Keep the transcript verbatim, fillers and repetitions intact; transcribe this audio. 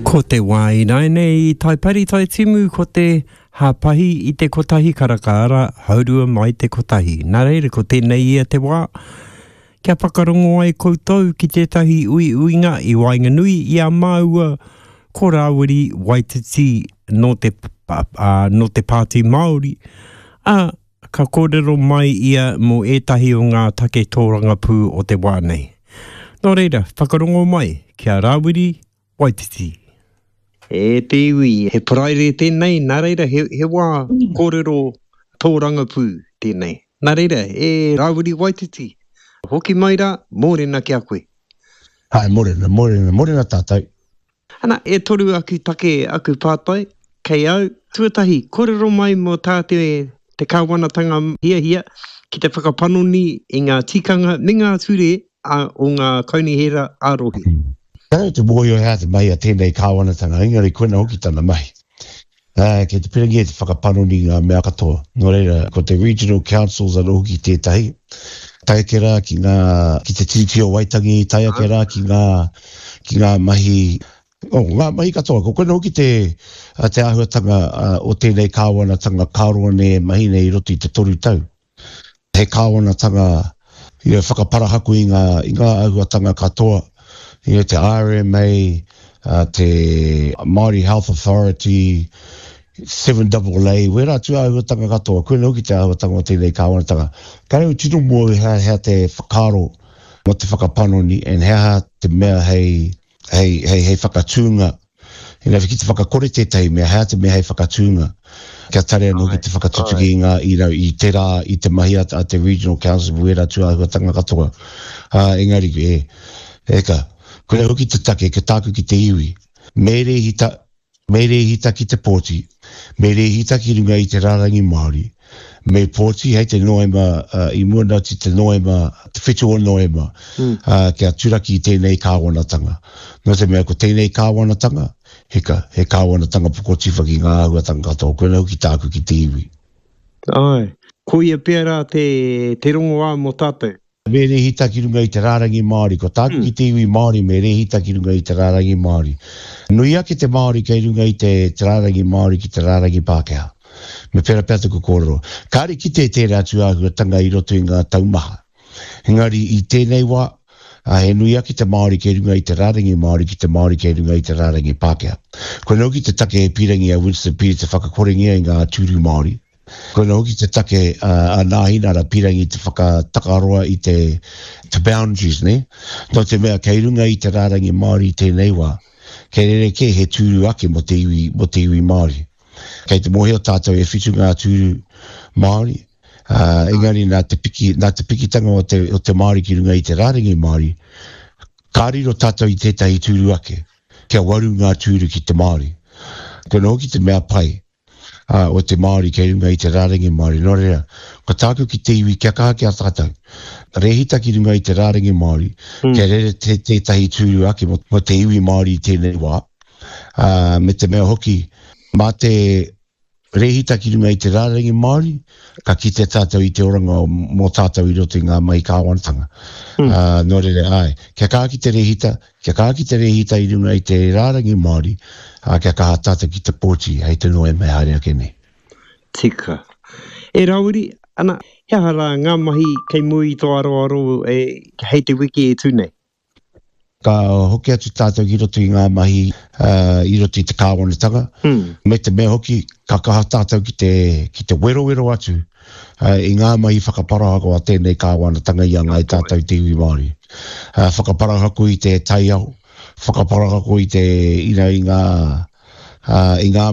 Ko te wā ināianei i Taipari Taitimu ko te hāpahi i te kotahi karaka arā, haurua mai te kotahi. Nā reira, ko tēnei ia te wā kia whakarongo ai koutou ki tētahi uiuinga i waenganui i a māua ko Rāwiri Waititi nō te, ā, nō te Pāti Māori, ā, ka kōrero mai ia mō ētahi o ngā take tōrangapū o te wā nei. Nō reira, whakarongo mai ki a Rāwiri Waititi. E te iwi, he Paraire tēnei, nā reira, he, he wā kōrero tōrangapū tēnei. Nā reira, e Rāwiri Waititi, hoki mai rā, mōrena ki a koe. Hai, mōrena, mōrena, mōrena tātou. Ana, e toru aku take, aku pātai, kei au. Tuatahi, kōrero mai mō tā te, te kāwanatanga hiahia ki te whakapanoni i ngā tikanga me ngā ture a, o ngā kaunihera ā-rohe. Kāre te mōhio he aha te mahi a tēnei kāwanatanga, engari koina hoki tana mahi. Ā, kei te pirangi e te whakapanoni i ngā mea katoa. Nō reira, ko te Regional Councils anō hoki tētahi, tae ake rā ki ngā, ki te Tiriti o Waitangi, tae ake rā ki ngā, ki ngā mahi, oh, ngā mahi katoa. Ko koina hoki te, te āhuatanga o tēnei kāwanatanga ka roa nei e mahi nei i roto i te toru tau. He kāwanatanga, you know, whakaparahako i ngā, i ngā āhuatanga katoa, you know, te R M A, uh, te Māori Health Authority, seven double A, wērā atu āhuatanga katoa, koina hoki te āhuatanga o tēnei kāwanatanga. Kāre au tino mō hea, hea te whakaaro mō te whakapanoni, and he aha te mea hei, hei, hei, hei whakatūnga. You know, ki te whakakore tētahi mea, hea te mea hei whakatūnga. Kia tare anō ki te whakatutuki i ngā, you know, i te rā, i te mahi a, a te Regional Council, wērā atu āhuatanga katoa. Uh, engari, e, e ka, koina hoki te take, ke tāku ki te iwi. Me rēhita, me rēhita ki te pōti, me rēhita ki runga i te rārangi Māori, me pōti hei te Noema, uh, i mua nā te Noema, te whitu o Noema, mm. uh, kia turaki i tēnei kāwanatanga. Nō te mea ko tēnei kāwanatanga, hika, he kāwanatanga pokotiwha ki ngā āhuatanga katoa, koina hoki tāku ki te iwi. Ai, koia pērā te, te rongoā mō tātou. Me rēhita ki runga i te rārangi Māori, ko tāku Mm. ki te iwi Māori me rēhita ki runga i te rārangi Māori. Nui ake te Māori kei runga i te, te rārangi Māori ki te rārangi Pākehā. Me pērā pea taku kōrero. Kāre kite tērā atu āhuatanga i roto i ngā taumaha. Engari i tēnei wā, a, he nui ake te Māori kei runga i te rārangi Māori ki te Māori kei runga i te rārangi Pākehā. Koina hoki te take e pīrangi a Winston Peters te whakakorengia i ngā tūru Māori. Koina hoki te take a, a Nāhinara pīrangi te whakatakaroa i te, te boundaries, ne? Nō te mea kei runga i te rārangi Māori i tēnei wā, kei rerekē he tūru ake mō te iwi, mō te iwi Māori. Kei te mōhio tātou e whitu ngā tūru Māori, uh, engari nā te, piki, nā te pikitanga o te, o te Māori ki runga i te rārangi Māori, ka riro tātou i tētahi tūru ake, kia waru ngā tūru ki te Māori. Koina hoki te mea pai, uh, o te Māori kei runga i te rārangi Māori. Nō reira, ko tāku ki te iwi kia kaha ki a tātou. Rēhita ki runga i te rārangi Māori, Mm. kia rere te, tētahi tūru ake mō, mō te iwi Māori i tēnei wā. Uh, me te mea hoki, mā te rēhita ki runga i te rārangi Māori, ka kite tātou i te oranga o, mō tātou i roto i ngā mahi kāwanatanga. Mm. Uh, nō reira, ai, kia kaha ki te rēhita, kia kaha ki te rēhita i runga i te rārangi Māori, uh, kia kaha tātou ki te pōti hei te Noema e haere ake nei. Tika. E Rāwiri, ana, he aha rā ngā mahi kei mua i tō aroaro e, hei te wiki e tū nei? Ka hoki atu tātou ki roto i ngā mahi, uh, i roto i te kāwanatanga, Mm. me te mea hoki ka kaha tātou ki te, ki te werowero atu, uh, i ngā mahi whakaparahako a tēnei kāwanatanga i a ngāi tātou te iwi Māori. Uh, whakaparahako i te taiao, whakaparahako i te, you know, i ngā, uh, i ngā